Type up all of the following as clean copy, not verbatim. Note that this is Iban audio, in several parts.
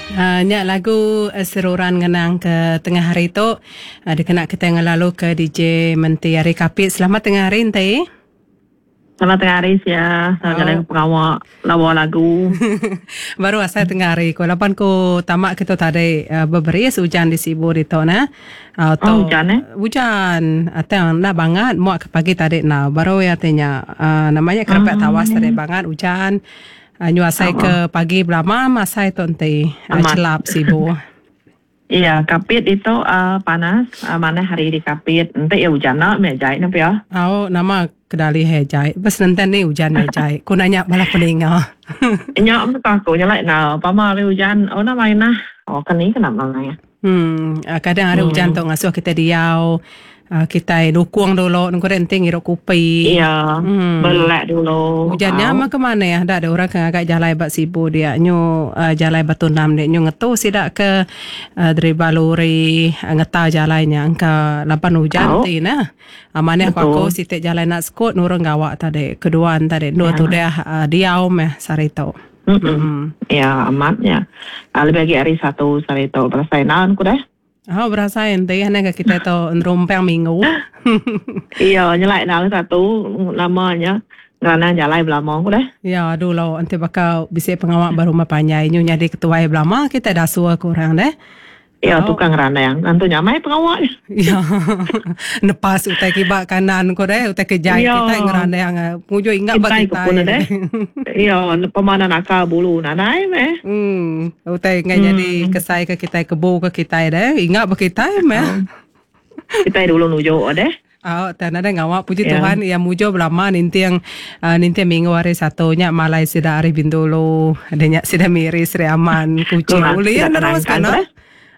Uh, nya lagu eh, seruran ngenang ke tengah hari tu uh, dikena kita ngelalu ke DJ Menti hari Kapit. Selamat tengah hari enti. Selamat tengah hari sia. Selamat oh. jalan pengawa lawa lagu. Baru asai tengah hari ko laban ko tamak kita tadi uh, beberis hujan di Sibu ditu nah. Uh, oh, hujan eh? Hujan. Atang enda bangat muak ke pagi tadi nah. Baru ya tanya uh, namanya kerepek tawas tadi bangat hujan. Nyu asai ke pagi belama masai tu enti chelap sibu. Iya, Kapit ditu panas, manah hari di Kapit. Enti iya ujan enda meh jai ne pia. Au nama kedali he jai. Bes nenten ni ujan meh jai. Ku nanya bala peninga. Nya meh ku aku nyelai enggau pama hari ujan oh nama inah. Oh keni ke nama neh. Hmm, kadang hari ujan tu ngasuh kitai diau, kitai nukung dulu nengku deh enti ngirup kopi. Iya, belelak dulu. Ujan nya mah ke manah da deh orang ke ngaga jalai ba Sibu dia nyu jalai Batu Enam dia nyu ngetu sida ke deriba lori ngeta jalai nya engka laban ujan ti neh. Manah ku aku siti jalai enda sekut nurun gawa tadi kedua ne tadi endur tudah diau meh sehari tu. Ya amat nya. Lebih agi hari satu sehari tu berasai enda ku deh. Oh berasai enti ane ga kitai tu nerumpang minggu. Iya nyelai enda hari satu lama nya ngeranang jalai belama ku deh. Ya dulu enti baka bisi pengawa ba rumah panjai nyu nyadi ketuai belama kitai dasuh ke orang deh. Iya tukang randang. Tentu nyamai pengawa nya. Iya. Nepas utai kiba kanan ko deh, utai ke jai kitai ngerandang pengujung inggap ba kitai. Kitai ke deh. Iya, pemanan akal bulu nadai meh. Hmm, utai enggai nyadi kesai ke kitai kebu ke kitai deh, inggap ba kitai meh. Kitai dulu nuju deh. Au tang nadai ngawa puji Tuhan iya mujur belama ninting ninting minggu hari satu nya malai sida ari Bintulu ada nya sida Miri Sri Aman Kuching ulih iya nerus ka no.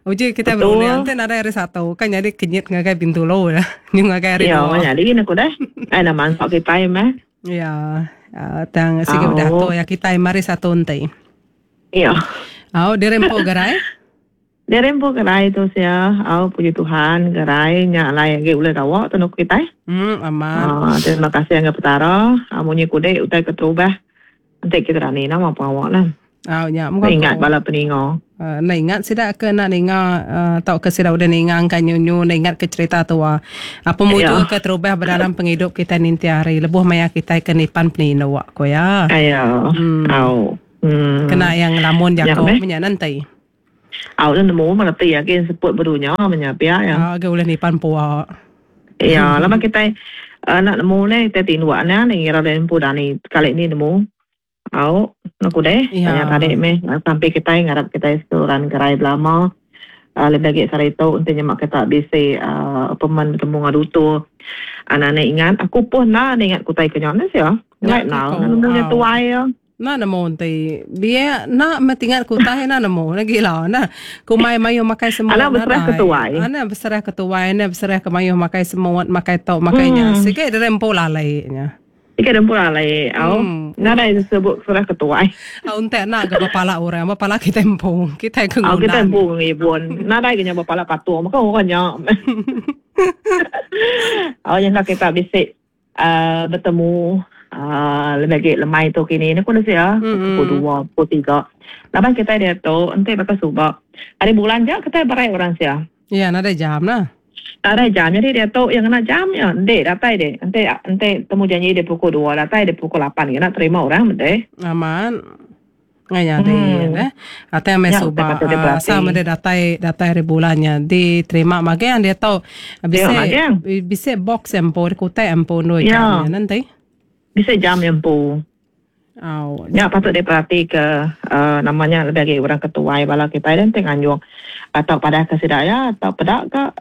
Uji kitai berunding enti nadai hari satu kan nyadi kenyit ngagai Bintulu dah nyu ngagai hari dua. Iya nyadi ne ku deh. Ai nama mansa kitai meh. Iya tang sigi udah atur iya kitai meh hari satu enti. Iya. Au diri empu gerai. Diri empu gerai tu sia, au puji Tuhan gerai nya alai agi ulih gawa tenu kitai. Hmm amat. Aa terima kasih ngagai Petara munyi kudi utai keterubah enti kita dani nama pengawa ne. Au nya mung aku. Ingat bala peninga. Enda ingat sida ke enda ninga tauka sida udah ninga engka nyu nyu enda ingat ke cherita tua. Pemujur ke terubah ba dalam pengidup kitai ninting hari lebuh maya kitai ke nipan peninduk, ku iya. Iya. Au. Kena iya ngelamun jaku menya nenti. Au nya nemu meh reti agi seput bedunya meh nya pia iya. Au agi ulih nipan pua. Iya laban kitai enda nemu neh kitai tinduk nya nih ngira deh empu dani sekali ni nemu. Au aku deh tanya tadi meh sampi kitai ngarap kitai seruran gerai belama lebih agi sehari tu enti nyema kita bisi appointment betemu enggau dutur anak anak ingat aku puh enda ingat ku utai ke nya neh sia. Nya Ngelai nau nemu nya tuai iya. Enda nemu enti biak enda meh tingat ke utai enda nemu dah gila enda. Kumbai mayuh makai semut Anang beserah ke tuai. Anang beserah ke tuai anang beserah ke mayuh makai semut makai tu makai nya sigi diri empu lalai nya. Sigi diri empu lalai au nadai sebut serah ke tuai. Au enti enda ga bepala orang bepala kitai empu kitai ke Au ngundan. kitai empu ngibun nadai ga nya bepala patung meka orang nya. Au nyangka kita bisi Betemu lebih agi lemai tu kini ne ku ne sia pukul dua pukul tiga laban kitai diatu enti baka suba hari bulan ja kitai berai orang sia. Iya nadai jam nah. Nadai jam jadi diatu iya ngena jam iya enti datai deh enti enti temu janji deh pukul dua datai deh pukul lapan ngena terima orang meh deh. Amat. Ngai nyadi neh. Atai meh suba asal meh datai datai hari bulan nya diterima magang diatu bisi bisi box empu kutak empu endur jam nya neh enti. Bisi jam nya empu. Au. Nya patut diperati ke nama nya lebih agi orang ke tuai bala kitai deh enti nganjung atau padah ke sida iya atau peda ka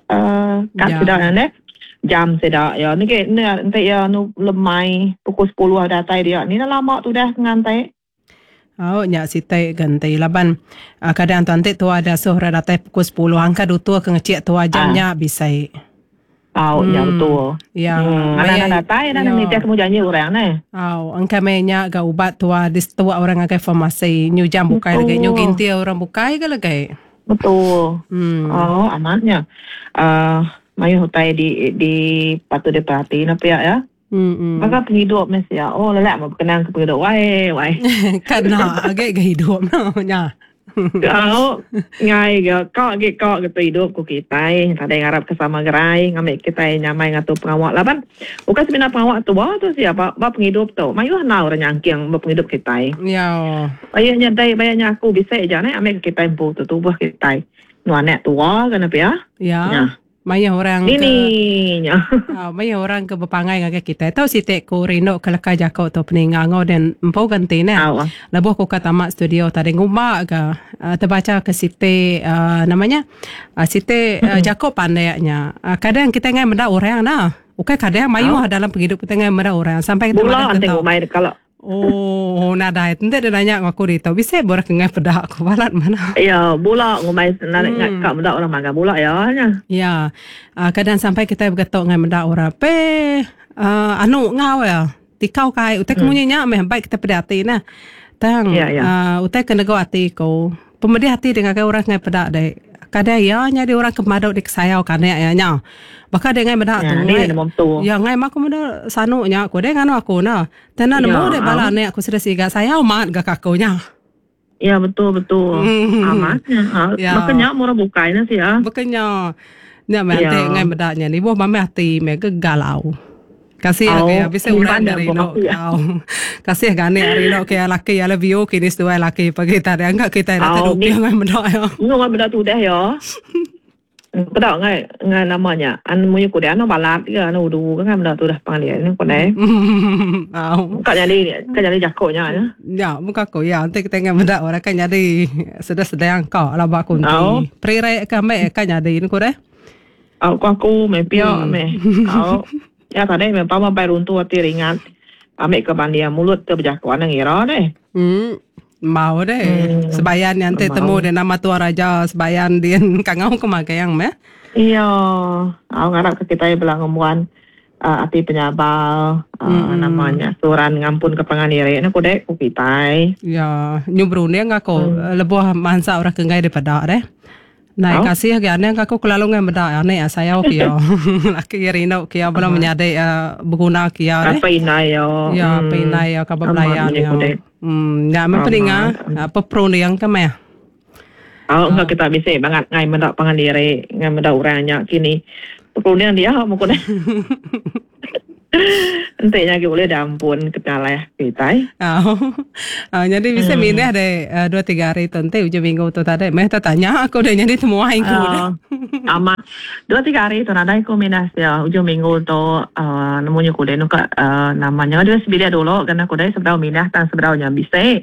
kad sida nya neh jam sida iya negi enti iya lemai pukul sepuluh datai dia ni dah lama tudah nganti. Au nya siti ga enti laban kadang tu enti tua dasuh orang datai pukul sepuluh angka dutur ke ngecik tua jam nya bisi. Au nya betul. Ya. Hmm anak anak datai dah nitih temu janji orang neh. Au engka meh nya ga ubat tua disetua orang ngagai farmasi nyu jam bukai lagi nyu gintir orang bukai ga lagi. Betul. Hmm. Au amat nya. Uh mayuh utai di di patut diperati ne pia ya. Baka pengidup meh sia. Oh lelak meh bekenang ke pengidup wai wai. Kena agi ga hidup nya. Au, ngai ga ka agi ka ga idup ku kitai. Tadi ngarap ke sama gerai ngambi kitai nyamai ngatur pengawa laban ukai semina pengawa tua tu sia ba ba pengidup tu mayuh enggau orang nyangking ba pengidup kitai. Ya. Bayak nya dei bayak nya aku bisi aja neh ambi ke kitai empu tu tubuh kitai. Nu anak tua ke ne pia. Ya. Nya. Mayuh orang ke Dini nya. Au, mayuh orang ke bepangai ngagai kitai. Tau siti ku rindu ke leka jaku tu peninga enggau den empu ganti neh. Au. Lebuh ku ka tama studio tadi ngumba ga uh, tebacha ke siti uh, nama nya uh, siti uh, jaku pandek nya. Kadang kitai ngai meda orang nah. Ukai kadang mayuh dalam pengidup kitai ngai meda orang sampai kita Bula madah enti ke tau. ngumbai kala. Oh, nadai. Enti deh nanya enggau aku ditu, bisi ba orang ke enggai peda aku balat manah. Ya, bula ngumbai narit hmm. ka meda orang magang bula ya nya. Ya. Kadang sampai kitai begetok ngai meda orang pe anu enggau ya. Tikau kai utai ke munyi nya meh baik kitai peda ati nah. Tang Ya, ya. Utai ke nego ati ku, pemedih ati deh ngagai orang ke enggai peda deh. Kadang iya nyadi orang ke madu dikesayau ke anak iya nya. Baka deh enggai meda Ya, tu ni ngai. nemu tu. Ya ngai mah aku meda sanu nya ku deh nganu aku nah. Tena nemu Ya, deh bala au. anak aku sida siga sayau mat ga ka aku nya. Ya betul betul. Amat nya. Ha, Ya. baka nya murah bukai nya sia. Baka nya. Nya meh Ya. enti ngai meda nya nibuh meh ati meh ke galau. Kasih Au, agi ya bisi orang nyimpan nya nya rindu aku ya. au. Kasih ga anak rindu ke laki I love you kini seduai laki pagi tadi angka kitai datai Au, ni duping ngai meda iya. Ngu meda tudah ya. Peda ngai ngai nama nya an munyi ku deh anu balat ke anu udu ke ngai meda tudah pangan ni ku deh. Au. Ka nyadi ka nyadi jako nya nya. Nya muka ku iya enti kitai ngai meda orang ka nyadi sedang sedang ka laba ku Au. enti. Perirek ke ambi ka nyadi ne ku deh. Au ku aku meh pia meh. Au. Nya tadi meh pama bai runtu ati ringat ambi ke banding mulut ke bejako anang ngira deh. Em. Mau deh. Hmm. Sebayan nya enti Mau. temu deh nama Tuan Raja Sebayan din kangau ke magang meh. Iya, au ngarap ke kitai bela ngembuan uh, ati penyabar uh, Mm-mm. nama nya suran ngampun ke pangan diri ne ku dek ku kitai. Ya, nyu berunding aku lebuh mansa orang ke enggai dipeda deh. Nai Au. kasih agi anang aku kelalu ngai meda anek ah sayau ke iya. Laki iya rindu ke iya bala menyadi iya beguna ke iya deh. Apai indai iya. Ya apai indai iya kaban Amat belayan munyi iya. ku dek. Em nya meh Amat. peninga apa perunding ke meh. Au enggau kita bisi bangat ngai meda pangan diri ngai meda orang nya kini. Perunding dia meh ku deh. Enti nya agi ulih diampun ke penyalah kitai. Au. Au nyadi bisi mindah deh dua tiga hari tu enti ujung minggu tu tadi meh tetanya aku deh nyadi temuai ku deh. Amat. Dua tiga hari tu nadai ku mindah sia ujung minggu tu uhh nemu nya ku deh nuka uhh nama nya deh sebilik dulu kena ku deh sebedau mindah tang sebedau nya bisi.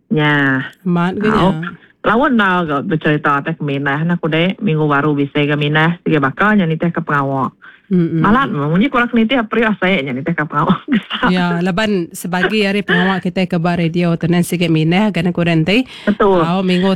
Nya. Amat ga nya. Au. Laun enda ga becerita atas ke mindah nah ku dek. Minggu baru bisi ga mindah sige baka nya nitih ke pengawa. Mm-mm. Balat meh munyi ku orang ke nitih periuk asik nya nitih ke pengawa gesa. Ya, laban sebagi ari pengawa kitai ke ba radio tu nan sige mindah ga ne ku deh enti. Betul. Au minggu.